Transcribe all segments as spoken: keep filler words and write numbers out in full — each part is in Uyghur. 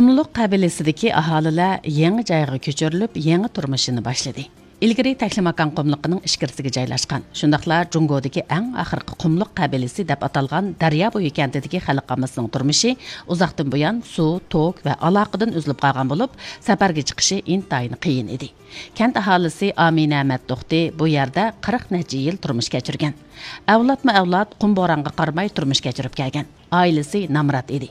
قۇملۇق قەبىلىسىدىكى ئاھالىلەر يېڭى جايغا كۆچۈرۈلۈپ، يېڭى تۇرمۇشىنى باشلىدى. ئىلگىرى تەكلىماكان قۇملۇقىنىڭ ئىچكىرىسىگە جايلاشقان، شۇنداقلا جۇڭگودىكى ئەڭ ئاخىرقى قۇملۇق قەبىلىسى دەپ ئاتالغان دەريا بويى كەنتىدىكى خەلق ئاممىسىنىڭ تۇرمۇشى ئۇزاقتىن بۇيان سۇ، توك ۋە ئالاقىدىن ئۈزۈلۈپ قالغان بولۇپ، سەپەرگە چىقىشى ئىنتايىن قىيىن ئىدى. كەنت ئاھالىسى ئامىنە مەتتوختى بۇ يەردە قىرىق نەچچە يىل تۇرمۇش كەچۈرگەن. ئەۋلادمۇ ئەۋلاد قۇم بورانغا قارىماي تۇرمۇش كەچۈرۈپ كەلگەن. ئائىلىسى نامرات ئىدى.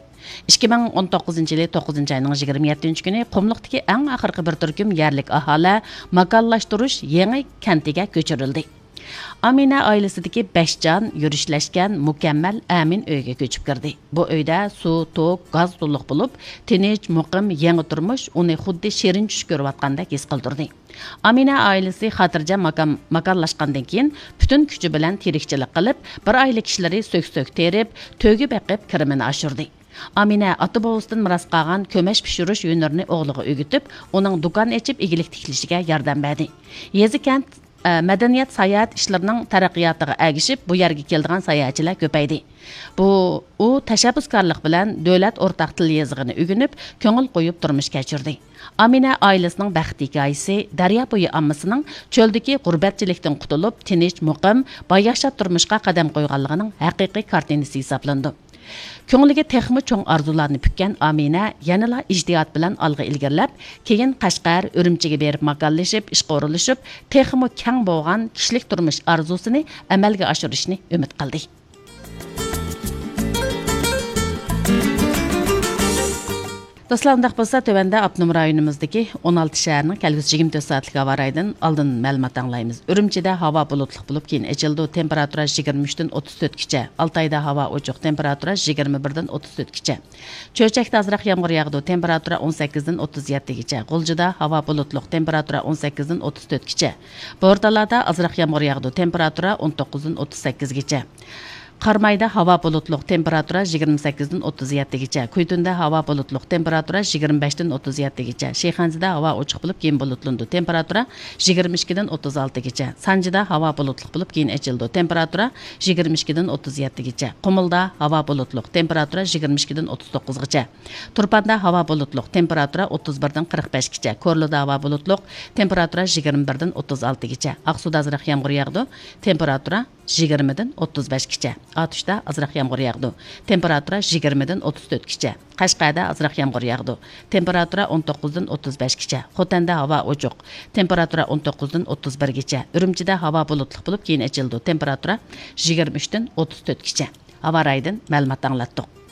ئىككى مىڭ ئون توققۇزىنچى يىلى توققۇزىنچى ئاينىڭ يىگىرمە يەتتىنچى كۈنى قۇملۇقتىكى ئەڭ ئاخىرقى بىر تۈركۈم يەرلىك ئاھالە ماكانلاشتۇرۇش يېڭى كەنتىگە كۆچۈرۈلدى. ئامىنە ئائىلىسىدىكى بەش جان يۈرۈشلەشكەن مۇكەممەل ئەمىن ئۆيگە كۆچۈپ كىردى. بۇ ئۆيدە سۇ، توك، گاز تولۇق بولۇپ، تىنچ، مۇقىم، يېڭى تۇرمۇش ئۇنى خۇددى شېرىن چۈش كۆرۈۋاتقاندەك ھېس قىلدۇردى. ئامىنە ئائىلىسى خاتىرجەم ماكان-، ماكانلاشقاندىن كېيىن، پۈتۈن كۈچى بىلەن تېرىكچىلىك قىلىپ، بىر ئائىلە كىشىلىرى سۆك-سۆك تېرىپ، تۆگە بېقىپ، كىرىمىنى ئاشۇردى. ئامىنە ئاتا-بوۋىسىدىن مىراس قالغان كۆمەچ پىشۇرۇش ھۈنىرىنى ئوغلىغا ئۆگىتىپ، ئۇنىڭ دۇكان ئېچىپ، ئىگىلىك تىكلىشىگە ياردەم بەردى. يېزا-كەنت، ئە، مەدەنىيەت، ساياھەت ئىشلىرىنىڭ تەرەققىياتىغا ئەگىشىپ، بۇ يەرگە كېلىدىغان ساياھەتچىلەر كۆپەيدى. بۇ، ئۇ تەشەببۇسكارلىق بىلەن دۆلەت ئورتاق تىل يېزىقىنى ئۆگىنىپ، كۆڭۈل قويۇپ تۇرمۇش كەچۈردى. ئامىنە ئائىلىسىنىڭ بەخت ھېكايىسى دەريا بويى ئاممىسىنىڭ چۆلدىكى غۇربەتچىلىكتىن قۇتۇلۇپ، تىنچ، مۇقىم، باياشات تۇرمۇشقا قەدەم قويغانلىقىنىڭ ھەقىقىي كارتىنىسى ھېسابلىنىدۇ. كۆڭلىگە تېخىمۇ چوڭ ئارزۇلارنى پۈككەن ئامىنە يەنىلا ئىجتىھات بىلەن ئالغا ئىلگىرىلەپ، كېيىن قەشقەر، ئۈرۈمچىگە بېرىپ ماكانلىشىپ، ئىشقا ئورۇنلىشىپ، تېخىمۇ كەڭ بولغان كىشىلىك تۇرمۇش ئارزۇسىنى ئەمەلگە ئاشۇرۇشنى ئۈمىد قىلدى. دوستلار، ئۇنداق بولسا، تۆۋەندە ئاپتونوم رايونىمىزدىكى ئون ئالتە شەھەرنىڭ كەلگۈسى يىگىرمە تۆت سائەتلىك ھاۋا رايىدىن ئالدىن مەلۇمات ئاڭلايمىز. ئۈرۈمچىدە ھاۋا بۇلۇتلۇق بولۇپ، كېيىن ئېچىلىدۇ، تېمپېراتۇرا يىگىرمە ئۈچتىن ئوتتۇز تۆتكىچە. ئالتايدا ھاۋا ئوچۇق، تېمپېراتۇرا يىگىرمە بىردىن ئوتتۇز تۆتكىچە. چۆچەكتە ئازراق يامغۇر ياغىدۇ، تېمپېراتۇرا ئون سەككىزدىن ئوتتۇز يەتتىگىچە. غۇلجىدا ھاۋا بۇلۇتلۇق، تېمپېراتۇرا ئون سەككىزدىن ئوتتۇز تۆتكىچە. بورتالادا ئازراق يامغۇر ياغىدۇ، تېمپېراتۇرا ئون توققۇزدىن ئوتتۇز سەككىزگىچە. قارامايدا ھاۋا بۇلۇتلۇق، تېمپېراتۇرا يىگىرمە سەككىزدىن ئوتتۇز يەتتىگىچە. كۈيتۇندە ھاۋا بۇلۇتلۇق، تېمپېراتۇرا يىگىرمە بەشتىن ئوتتۇز يەتتىگىچە. شىخەنزىدە ھاۋا ئوچۇق بولۇپ، كېيىن بۇلۇتلىنىدۇ، تېمپېراتۇرا يىگىرمە ئىككىدىن ئوتتۇز ئالتىگىچە. سانجىدا ھاۋا بۇلۇتلۇق بولۇپ، كېيىن ئېچىلىدۇ، تېمپېراتۇرا يىگىرمە ئىككىدىن ئوتتۇز يەتتىگىچە. قۇمۇلدا ھاۋا بۇلۇتلۇق، تېمپېراتۇرا يىگىرمە ئىككىدىن ئوتتۇز توققۇزغىچە. تۇرپاندا ھاۋا بۇلۇتلۇق، تېمپېراتۇرا ئوتتۇز بىردىن قىرىق بەشكىچە. كورلىدا ھاۋا بۇلۇتلۇق، تېمپېراتۇرا يىگىرمە بىردىن ئوتتۇز ئالتىگىچە. ئاقسۇدا ئازراق يامغۇر ياغىدۇ، تېمپېراتۇرا يىگىرمىدىن ئوتتۇز بەشكىچە. ئاتۇشتا ئازراق يامغۇر ياغىدۇ، تېمپېراتۇرا يىگىرمىدىن ئوتتۇز تۆتكىچە. قەشقەردە ئازراق يامغۇر ياغىدۇ، تېمپېراتۇرا ئون توققۇزدىن ئوتتۇز بەشكىچە. خوتەندە ھاۋا ئوچۇق، تېمپېراتۇرا ئون توققۇزدىن ئوتتۇز بىرگىچە. ئۈرۈمچىدە ھاۋا بۇلۇتلۇق بولۇپ، كېيىن ئېچىلىدۇ، تېمپېراتۇرا يىگىرمە ئۈچتىن ئوتتۇز تۆتكىچە. ھاۋا رايىدىن مەلۇمات ئاڭلاتتۇق.